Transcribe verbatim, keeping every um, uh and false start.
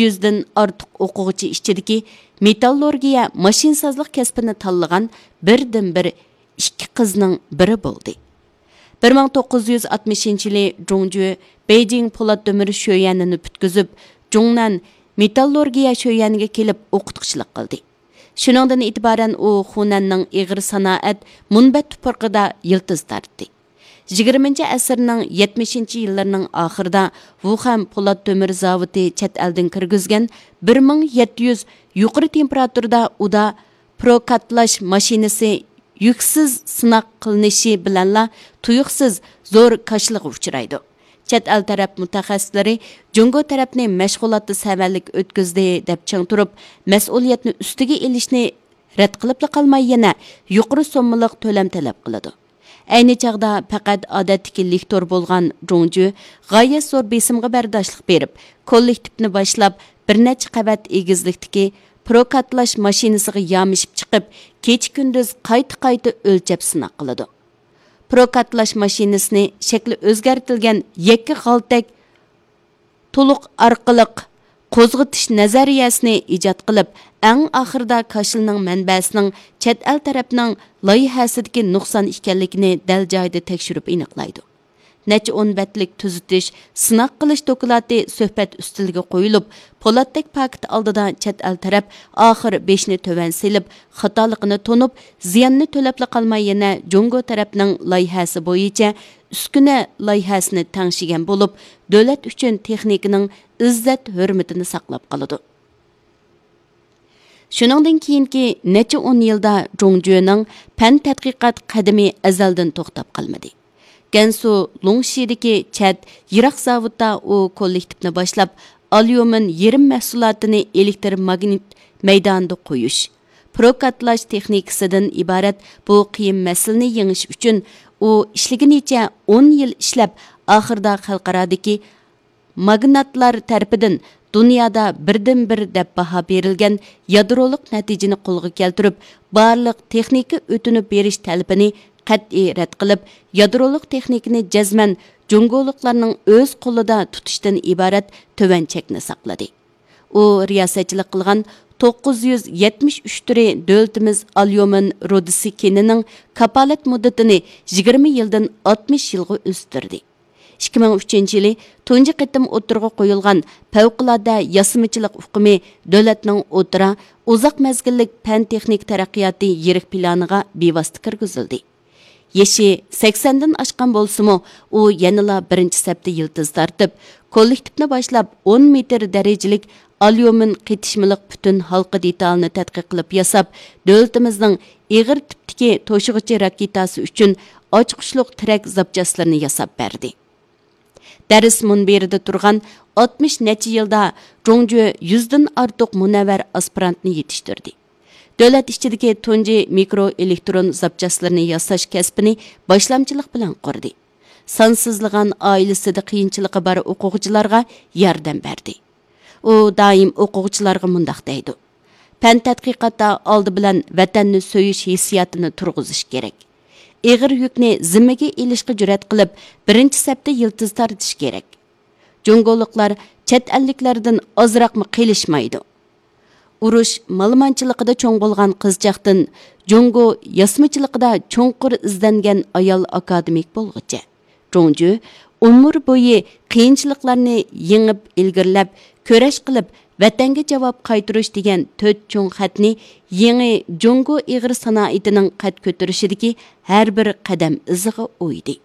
يۈزدىن ئارتۇق ئوقۇغۇچى ئىچىدىكى مېتاللورگىيە ماشىنىسازلىق كەسپىنى تاللىغان بىردىنبىر ئىككى قىزنىڭ بىرى بولدى. بىر مىڭ توققۇز يۈز ئاتمىشىنچى يىلى جۇڭجۈ بېيجىڭ پولات تۆمۈر شۆيۈەنىنى پۈتكۈزۈپ، جۇڭنەن مېتاللورگىيە شۆيۈەنىگە كېلىپ ئوقۇتقۇچىلىق قىلدى. شۇنىڭدىن ئېتىبارەن ئۇ خۇنەننىڭ ئېغىر سانائەت مۇنبەت تۇپرىقىدا يىلتىز تارتتى. يىگىرمىنچى ئەسىرنىڭ يەتمىشىنچى يىللىرىنىڭ ئاخىرىدا ۋۇخەن پولات تۆمۈر زاۋۇتى چەت ئەلدىن كىرگۈزگەن بىر مىڭ يەتتە يۈز يۇقىرى تېمپېراتۇرىدا ئۇدا پروكاتلاش ماشىنىسى يۈكسىز سىناق قىلىنىشى بىلەنلا تۇيۇقسىز زور كاشىلىغا ئۇچرايدۇ. چەت ئەل تەرەپ مۇتەخەسسىسلىرى جۇڭگو تەرەپنى مەشغۇلاتتا سەۋەنلىك ئۆتكۈزدى دەپ چىڭ تۇرۇپ، مەسئۇلىيەتنى ئۈستىگە ئېلىشنى رەت قىلىپلا قالماي، يەنە يۇقىرى سوممىلىق تۆلەم تەلەپ قىلىدۇ. ئەينى چاغدا پەقەت ئادەتتىكى لىكتور بولغان جۇڭجۈ غايەت زور بېسىمغا بەرداشلىق بېرىپ، كوللېكتىپنى باشلاپ، بىر نەچچە قەۋەت ئېگىزلىكتىكى پروكاتلاش ماشىنىسىغا يامىشىپ چىقىپ، كېچە-كۈندۈز قايتا-قايتا ئۆلچەپ سىناق قىلىدۇ. پروكاتلاش ماشىنىسىنى شەكلى ئۆزگەرتىلگەن يەككە غالتەك تولۇق ئارقىلىق قوزغىتىش نەزەرىيەسىنى ئىجاد قىلىپ، ئەڭ ئاخىرىدا كاشىلنىڭ مەنبەسىنىڭ چەت ئەل تەرەپنىڭ لايىھەسىدىكى نۇقسان ئىكەنلىكىنى دەل جايىدا تەكشۈرۈپ ئېنىقلايدۇ. نەچچە ئون بەتلىك تۈزىتىش، سىناق قىلىش دوكلاتى سۆھبەت ئۈستىلىگە قويۇلۇپ، پولاتتەك پاكىت ئالدىدا چەت ئەل تەرەپ ئاخىر بېشىنى تۆۋەن سېلىپ، خاتالىقىنى تونۇپ، زىياننى تۆلەپلا قالماي، يەنە جۇڭگو تەرەپنىڭ لايىھەسى بويىچە ئۈسكۈنە لايىھەسىنى تەڭشىگەن بولۇپ، دۆلەت ئۈچۈن تېخنىكىنىڭ ئىززەت-ھۆرمىتىنى ساقلاپ قالىدۇ. شۇنىڭدىن كېيىنكى نەچچە ئون يىلدا جۇڭجۈنىڭ پەن تەتقىقات قەدىمى ئەزەلدىن توختاپ قالمىدى. گەنسۇ لۇڭشىدىكى چەت يىراق زاۋۇتتا ئۇ كوللېكتىپنى باشلاپ، ئاليۇمىن يېرىم مەھسۇلاتىنى ئېلېكتر ماگنىت مەيدانىدا قويۇش، پروكاتلاش تېخنىكىسىدىن ئىبارەت بۇ قىيىن مەسىلىنى يېڭىش ئۈچۈن ئۇ ئىشلىگىنىچە ئون يىل ئىشلەپ، ئاخىرىدا خەلقئارادىكى ماگناتلار تەرىپىدىن دۇنيادا بىردىنبىر دەپ باھا بېرىلگەن يادرولۇق نەتىجىنى قولغا كەلتۈرۈپ، بارلىق تېخنىكا ئۆتۈنۈپ بېرىش تەلىپىنى قەتئىي رەت قىلىپ، يادرولۇق تېخنىكىنى جەزمەن جۇڭگولۇقلارنىڭ ئۆز قولىدا تۇتۇشتىن ئىبارەت تۆۋەن چەكنى ساقلىدى. ئۇ رىياسەتچىلىك قىلغان توققۇز يۈز يەتمىش ئۈچ تۈرى دۆلىتىمىز ئاليۇمىن رۇدىسى كېنىنىڭ كاپالەت مۇددىتىنى يىگىرمە يىلدىن ئاتمىش يىلغا ئۆستۈردى. ئىككى مىڭ ئۈچىنچى يىلى تۇنجى قېتىم ئوتتۇرىغا قويۇلغان پەۋقۇلئاددە ياسىمىچىلىق ئۇقۇمى دۆلەتنىڭ ئوتتۇرا، ئۇزاق مەزگىللىك پەن-تېخنىكا تەرەققىياتى يىرىك پىلانىغا بىۋاسىتە كىرگۈزۈلدى. يېشى سەكسەندىن ئاشقان بولسىمۇ، ئۇ يەنىلا بىرىنچى سەپتە يىلتىز تارتىپ، كوللېكتىپنى باشلاپ، ئون مېتىر دەرىجىلىك ئاليۇمىن قېتىشمىلىق پۈتۈن ھالقا دېتالىنى تەتقىق قىلىپ ياساپ، دۆلىتىمىزنىڭ ئېغىر تىپتىكى توشۇغۇچى راكېتاسى ئۈچۈن ئاچقۇچلۇق تىرەك زاپچاسلىرىنى ياساپ بەردى. دەرس مۇنبىرىدە تۇرغان ئاتمىش نەچچە يىلدا جۇڭجۈ يۈزدىن ئارتۇق مۇنەۋۋەر ئاسپىرانتنى يېتىشتۈردى. دۆلەت ئىچىدىكى تۇنجى مىكرو ئېلېكترون زاپچاسلىرىنى ياساش كەسپىنى باشلامچىلىق بىلەن قۇردى. سانسىزلىغان ئائىلىسىدە قىيىنچىلىقى بار ئوقۇغۇچىلارغا ياردەم بەردى. ئۇ دائىم ئوقۇغۇچىلارغا مۇنداق دەيدۇ: پەن تەتقىقاتتا ئالدى بىلەن ۋەتەننى سۆيۈش ھېسسىياتىنى تۇرغۇزۇش كېرەك. ئېغىر يۈكنى زىممىگە ئېلىشقا جۈرئەت قىلىپ، بىرىنچى سەپتە يىلتىز تارتىش كېرەك. جۇڭگولۇقلار چەت ئەللىكلەردىن ئازراقمۇ قېلىشمايدۇ. ئۇرۇش مالىمانچىلىقىدا چوڭ بولغان قىزچاقتىن جۇڭگو ياسىمىچىلىقىدا چوڭقۇر ئىزدەنگەن ئايال ئاكادېمىك بولغۇچە، جۇڭجۈ ئۆمۈر بويى قىيىنچىلىقلارنى يېڭىپ، ئىلگىرىلەپ، كۈرەش قىلىپ، ۋەتەنگە جاۋاب قايتۇرۇش دېگەن تۆت چوڭ خەتنى يېڭى جۇڭگو ئېغىر سانائىتىنىڭ قەد كۆتۈرۈشىدىكى ھەر بىر قەدەم ئىزىغا ئويدى.